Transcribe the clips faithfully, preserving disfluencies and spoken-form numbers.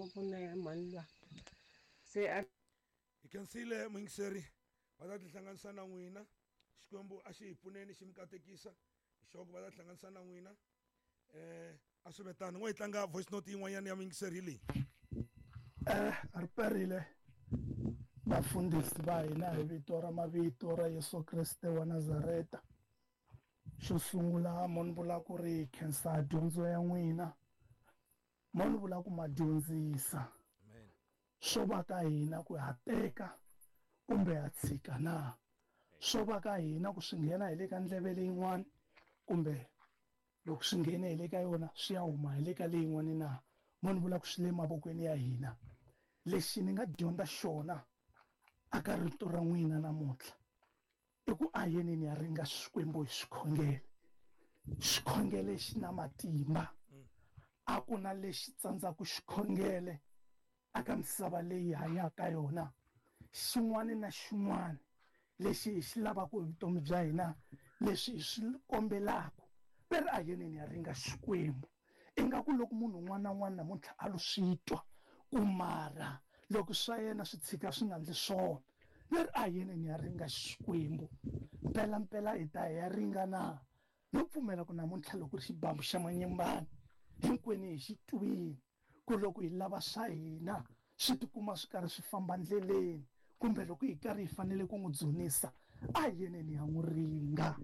ngopfu na ya mhani luya se a hi khensile muyingiseri va ta tihlanganisa na n'wina Xikwembu a xi hi pfuneni xi mi katekisa hi xoko va ta tihlanganisa na n'wina eh a swi vetani n'we hi tlanga voice note yin'wanyana ya muyingiseri hi leyi eh ri perile vafundhisi va hina hi vito ra mavito ra Yesu Kreste wa Nazareta. Xo sungula mo ni vula ku ri khensa dyondzo ya n'wina, mo ni vula ku ma dyondzisa swo va ka hina ku ha teka kumbe ha tshika na, swo va ka hina ku swi nghena hi le ka ndleve leyin'wana kumbe loko swi nghene hi le ka yona swi ya huma hi le ka leyin'wana na, mo ni vula ku swi le mavokweni ya hina. Lexi ni nga dyondza xona aka rito ra n'wina namuntlha i ku a yeneni ya ringa Xikwembu hi xikhongelo. Xikhongelo xi na matimba, a ku na lexi tsandzaka xikhongelo aka misava leyi hanyaka yona. Xin'wana na xin'wana lexi hi xi lavaka hi vutomi bya hina, leswi hi swi kombelaka, ve ri a yeneni ya ringa Xikwembu. Ingaku loko munhu un'wana na un'wana namuntlha a lo swi twa ku mara loko swa yena swi tshika swi nga endli swona, ve ri a yeneni ya ringa Xikwembu. Mpela mpela hi ta hi ya ringa na. No pfumela ku namuntlha loko ri xibambu xa manyimbani hinkwenu hi xi twini ku loko hi lava swa hina swi tikuma swi karhi swi famba ndleleni, kumbe loko hi karhi hi fanele ku n'wi dzunisa a yeneni ya n'wi ringa.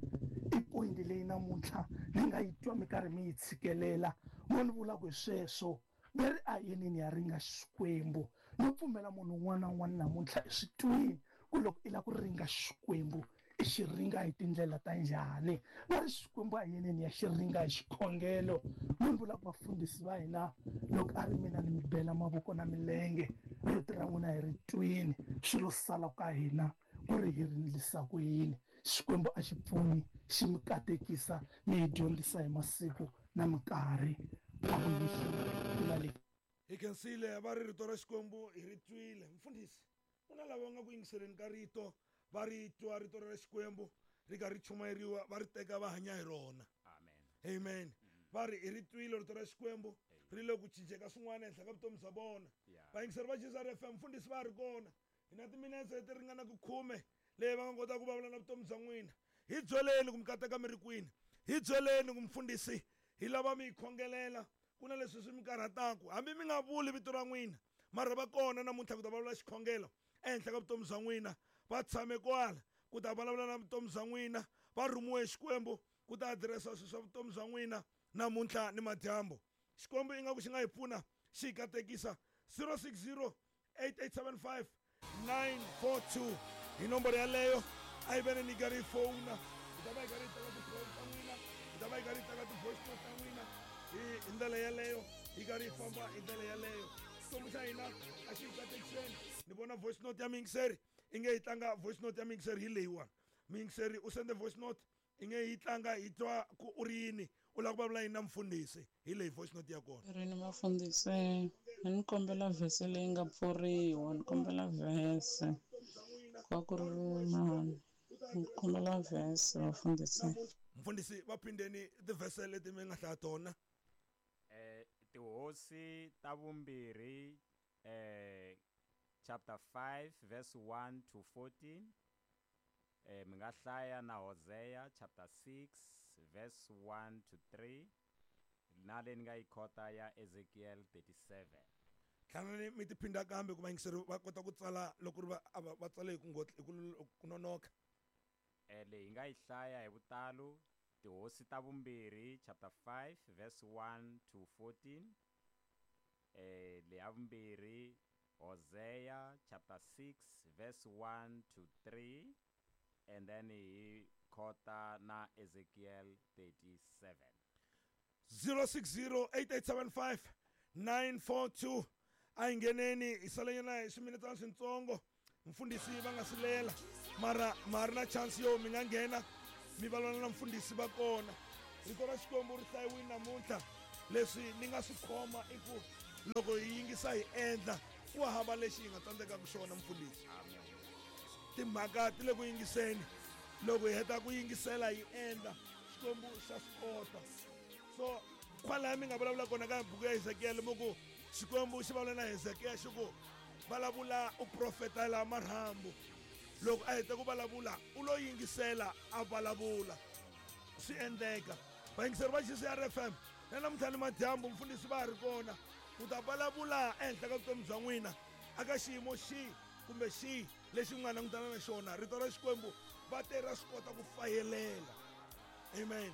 I point leyi namuntlha ni nga yi twa mi karhi mi yi tshikelela, mo ni vula ku hi sweswo ve ri a yeneni ya ringa Xikwembu. No pfumela munhu un'wana na un'wana namuntlha i swi twini ku loko i lava ku ringa Xikwembu i xi ringa hi tindlela ta njhani. Va ri Xikwembu a yeneni ya xi ringa hi xikhongelo. Mo ni vula ku vafundhisi va hina loko a ri mina ni mi bela mavoko na milenge, rito ra n'wina hi ri twini, swi lo sala ka hina ku ri hi ri endlisa ku yini. Xikwembu a xi pfuni xi mi katekisa mi hi dyondzisa hi masiku na minkarhi. Hi khensile va ri rito ra Xikwembu hi ri twile. Mfundhisi, ku na lava nga ku yingiseleni ka rito, va ri twa rito ra Xikwembu ri karhi ri chumayeriwa, va ri teka va hanya hi rona. Amen. Amen. Va ri hi ri twile rito ra Xikwembu ri le ku cinceka swin'wana ehenhla ka vutomi bya vona. Vayingiseri va Jesus F M, mfundhisi va ri kona hi na timinetse leti ringanaka khume leyi va nga kotaka ku vulavula na vutomi bya n'wina. Hi byeleni ku mi kateka mi ri kwini, hi byeleni ku mfundhisi hi lava mi hi khongelela, ku na leswi swi mi karhataka, hambi mi nga vuli vito ra n'wina mara va kona namuntlha ku ta vulavula xikhongelo ehenhla ka vutomi bya n'wina. Va tshame kwala ku ta vulavula na vutomi bya n'wina, va rhumiwe Xikwembu ku ta adiresa swilo swa vutomi bya n'wina namuntlha ni madyambu. Xikwembu ingaku xi nga hi pfuna xi hi katekisa. Zero six zero eight eight seven five nine four two hi nomboro yaleyo. A yi veni ni karhi yi fowuna, hi ta va hi karhi hi teka ti-call ta n'wina, hi ta va hi karhi hi teka ti-voice note ta n'wina hi ndlela yaleyo, hi karhi hi famba hi ndlela yaleyo. Xikwembu xa hina a xi hi katekiseni. Ni vona voice note ya muyingiseri i nge yi tlanga voice note ya muyingiseri hi leyiwani. Muyingiseri u sende voice note i nge yi tlanga hi twa ku u ri yini, u lava ku vulavula yini na mfundhisi. Hi leyi voice note ya kona. Rini vafundhisi, ni kombela vhese leyi nga pfuriwa, ni kombela vhese kwa ku ri mani, ni kombela vhese vafundhisi. Mfundhisi va phindeni tivhese leti mi nga hlaya tona. Eh Tihosi ta vumbirhi eh chapter five verse one to fourteen. Eh mi nga hlaya na Hosea chapter six verse one to three, na leyi ni nga yi khota ya Ezekiel thirty-seven. Hlanani mi ti phinda kambe ku vayingiseri va kota ku tsala loko ri va va tsale hi ku ngotla hi ku nonoka. Eh leyi hi nga yi hlaya hi vutalo Tihosi ta vumbirhi chapter five verse one to fourteen. Eh leyi ya vumbirhi Hosea chapter six verse one to three, and then hi khota na Ezekiel thirty-seven. zero six zero eight eight seven five nine four two. A hi ngheneni hi salenyana hi swiminetana swintsongo, mfundhisi va nga silela mara ma ri na chance yo mi nga nghena mi vulavula na mfundhisi va kona. Rito ra Xikwembu ri hlayiwile namuntlha. Leswi ni nga swi khoma i ku loko hi yingisa hi endla, ku hava lexi hi nga tsandzekaka xona mfundhisi. Timhaka ti le ku yingiseni, loko hi heta ku yingisela hi endla, Xikwembu xa swi kota. So kwalaya mi nga vulavula kona ka buku ya Ezekiel mi ku Xikwembu xi vulavula na Hezekiya xi ku vulavula u profetela marhambu. Loko a heta ku vulavula u lo yingisela a vulavula, swi endleka. Vayingiseri va G C R F M na namuntlha ni madyambu mfundhisi va ha ri kona ku ta vulavula ehenhla ka vutomi bya n'wina aka xiyimo xihi kumbe xihi lexi mi nga langutana na xona. Rito ra Xikwembu va te ra swi kota ku fayelela. Amen.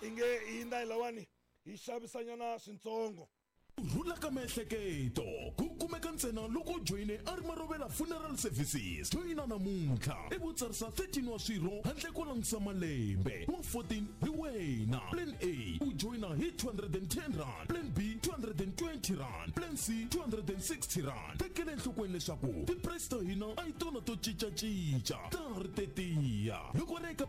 Inge hi ndhawu lawani hi xavisanyana swintsongo. Ku rhula ka miehleketo ku kumeka ntsena loko u joyine a ri Marovela Funeral Services. Joyina namuntlha i vo tsarisa thirteen wa swirho handle ko langutisa malembe wa fourteen hi wena. Plan A u joyina hi two hundred and ten rand, Plan B two hundred and twenty rand, Plan C two hundred and sixty rand. Tekela enhlokweni leswaku ti-price ta hina a hi tona to cincacinca, ta ha ri tetiya. Loko ri eka